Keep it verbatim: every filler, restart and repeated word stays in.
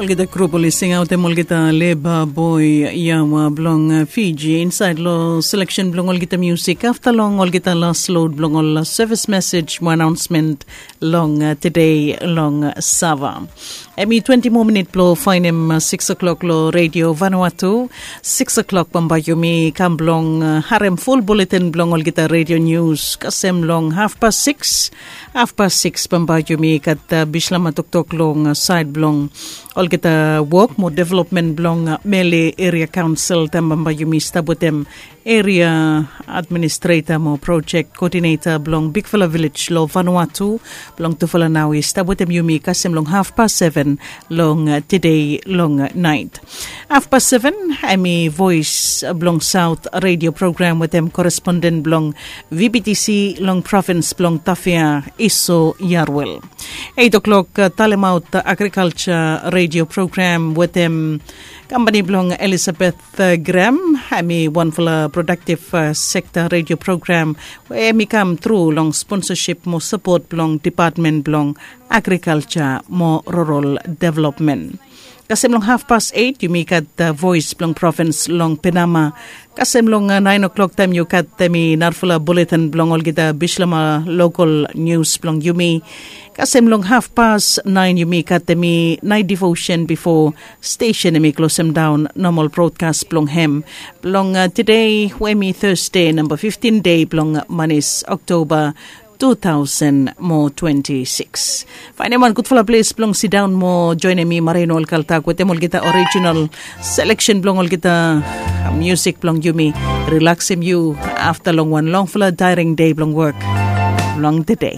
Olgeta grup oli singaotem olgeta leba boi yawa blong Fiji insaed long seleksen blong olgeta musik afta long olgeta las lod blong ol sevis mesej mo anaonsmen long tede long Sava. Em i twenti moa minit blong faenem siks o'klok long redio Vanuatu. Siks o'klok bambae yumi kam blong harem ful buletin blong olgeta redio nius kasem long hafpas siks. Hafpas siks bambae yumi gat bislama toktok long saed blong olgeta wok mo developmen blong Mele Eria Kaonsel taem bambae yumi stap wetem eria administreta mo projek koodineta blong bigfala vilej long Vanuatu blong tufala nao i stap wetem yumi kasem long hafpas seven long tede long naet. Hafpas seven em i voes blong saot redio program wetem koresponden blong VBTC long provins blong Tafea, Iso Yarwel. Eit o'klok talemaot agrikalja redio program wetem kampani blong Elisabeth Graham. Em i wanfala prodaktiv sekta redio program we em i kam tru long sponsasip mo sapot blong depatmen blong agrikalja mo rural developmen. Kasem long hafpas eit yumi gat voes blong provins long Penama. Kasem long naen o'klok taem yu gat em i narafala buletin blong olgeta bislama lokal nius blong yumi. Kasem long hafpas naen yumi gat em i naet divosen bifo stesen em i klosem daon nomal brodkas blong hem blong tede we em i Tasde namba fiftin dei blong manis Oktoba tu taosen mo twenti siks. Faenem wan gudfala ples blong sidaon mo joenem mi Marino Olkaltak wetem olgeta orijinal seleksen blong olgeta musik blong yumi. Rilaksim yu afta long wan longfala daering dei blong wok blong tede.